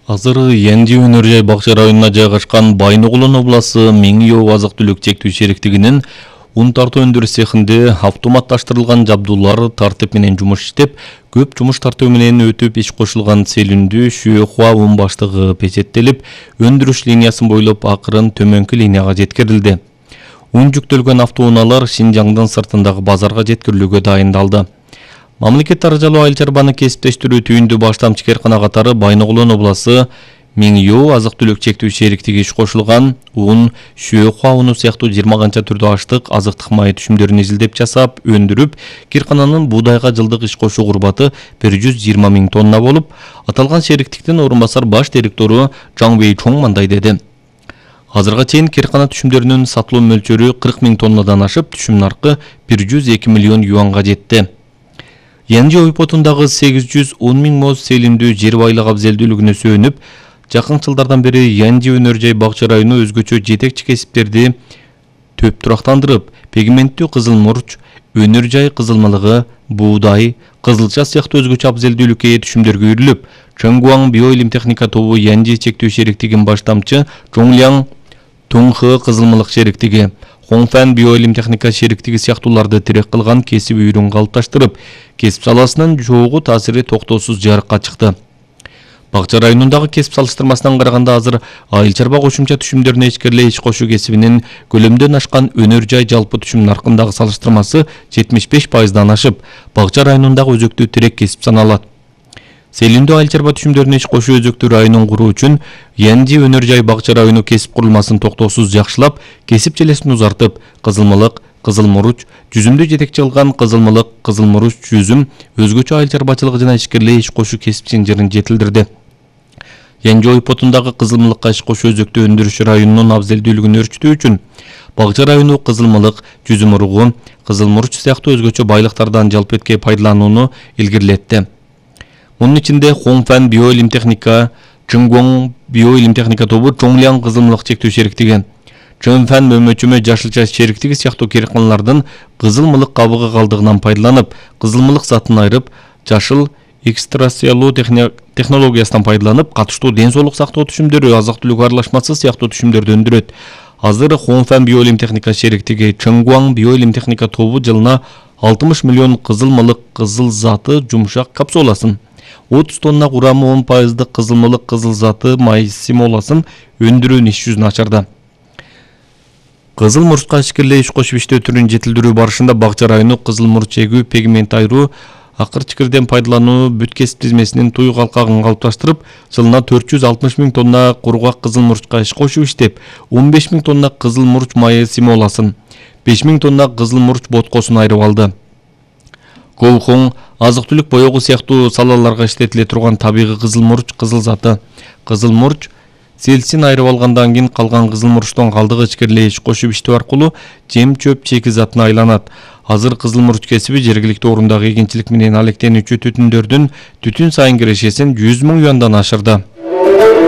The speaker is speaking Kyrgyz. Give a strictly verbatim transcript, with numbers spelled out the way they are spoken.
Азыр Янди өнөр жай бакча районуна жайгашкан Байногулон обласы Меңиөө азык-түлүк чектүү шериктигинин ун тартуу өндүрүш цехинде автоматташтырылган жабдуулар тартип менен жумуш иштеп, көп жумуш тартуу менен өтүп иш кошулган Селүндү Шүйөхуа ун баштыгы печеттелип, өндүрүш линиясын бойлоп акырын төмөнкү линияга жеткирилди. Ун жүктөлгөн автоунаалар Шинжаңдын сыртындагы базарга жеткирилүүгө дайындалды. Мамлекет таржалуу айыл чарбаны кесиптештирүү түйүндү баштамчы кээркана катары Байногулон обласы Меңиөө азык-түлүк чектүү шериктиги иш кошулган ун, Шүйөхуа уну сыяктуу жыйырма канча түрдүү аштык, азыктык май түшүмдөрүн изилдеп жасап, өндүрүп, кээркананын буудайга жылдык иш кошуу курбаты бир жүз жыйырма миң тонна болуп, аталган шериктиктин орун басар баш директору Жаңбей Чоң мындай деди. Азырга чейин кээркана түшүмдөрүнүн сатылуу мөлчөрү кырк миң тоннадан ашып, түшүм наркы бир жүз эки миллион юанга жетти. Янди ойпотундагы сегиз жүз он миң моз Селүндү жер байлык абзелдүүлүгүнө сүйөнүп, жакын жылдардан бери Янди өнөр жай бакча району өзгөчө жетекчи кесиптерди төп турактандырып, пигменттүү кызыл мурч, өнөр жай кызылмалыгы, буудай, кызылча сыяктуу өзгөчө абзелдүүлүккө ээ түшүмдөргө үйрүлүп, Чоңгуаң биоилим техника тобу Янди чектүү шериктигин баштамчы Чоңляң Туңхы кызылмалык шериктиги, Хоңфан биоилим техника шериктиги сыяктууларды тирек кылган кесип үйрүн калыпташтырып, кесип саласынын чогуу таасири токтоосуз жарыкка чыкты. Бакча районундагы кесип салыштырмасынан караганда азыр айыл чарба кошумча түшүмдөрүнө ичкериле иш кошуу кесибинин көлөмдөн ашкан өнөр жай жалпы түшүм наркындагы салыштырмасы жетимиш беш пайыздан ашып, бакча районундагы өзөктүү тирек кесип саналат. Селүндү айыл чарба түшүмдөрүнө иш кошуу өзөктүү районун куруу үчүн Янди өнөр жай бакча району кесип курулмасын токтоосуз жакшылап, кесип желесин узартып, кызылмалык, кызыл муруч, жүзүмдү жетекчи кылган кызылмалык, кызыл муруч, жүзүм, өзгөчө айыл чарбачылыгы жана ишкерлей иш кошуу кесип синжирин жетилдирди. Янди ойпотундагы кызылмалыкка иш кошуу өзөктүү өндүрүш районунун абзелдүүлүгүн өрчүтүү үчүн бакча району кызылмалык, жүзүм уругу, кызыл муруч сыяктуу өзгөчө байлыктардан жалп этке пайдаланууну илгирилетти. Мунун ичинде Хоңфан биоилим техника, Чоңгуаң биоилим техника тобу Чоңляң кызылмалык чектүү шериктиги, Чөнфан мөмөчөмө жашылча шериктиги сыяктуу кээрканалардын кызылмалык кабыгы калдыгынан пайдаланып, кызылмалык затын айырып, жашыл экстрасиялуу технологиясынан пайдаланып, катыштуу ден соолук сактоо түшүмдөрү, азык-түлүк аралашмасы сыяктуу түшүмдөрдү өндүрөт. Азыр Хоңфан биоилим техника шериктиги, Чоңгуаң биоилим техника тобу жылына алтымыш миллион кызылмалык кызыл заты жумшак капсуласын, отуз тонна курамы он пайыздык кызылмалык кызыл заты май симоласын өндүрүүнү иш жүзүнө ачырды. Кызыл мурчка ишкерлей иш кошуп иштөө түрүн жетилдирүү барышында бакча району кызыл мурч эгүү, пигмент айыруу, акыр чикирден пайдалануу бүт кесип тизмесинин туй калкагын калыпташтырып, жылына төрт жүз алтымыш миң тонна кургак кызыл мурчка иш кошуп иштеп, он беш миң тонна кызыл мурч майы симоласын, беш миң тонна кызыл мурч боткосун айырып алды. Колхоң, азык-түлүк боёгу сыяктуу салаларга иштетиле турган табигый кызыл мурч кызыл заты, кызыл мурч селсин айырып алгандан кийин калган кызыл мурчтун калдыгы ичкериле иш кошуп иштөө аркылуу жем-чөп чекизатына айланат. Азыр кызыл мурч кесиби жергиликтүү орундагы эгинчилик менен алектенүүчү түтүндөрдүн түтүн сайын кирешесин жүз миң юандан ашырды.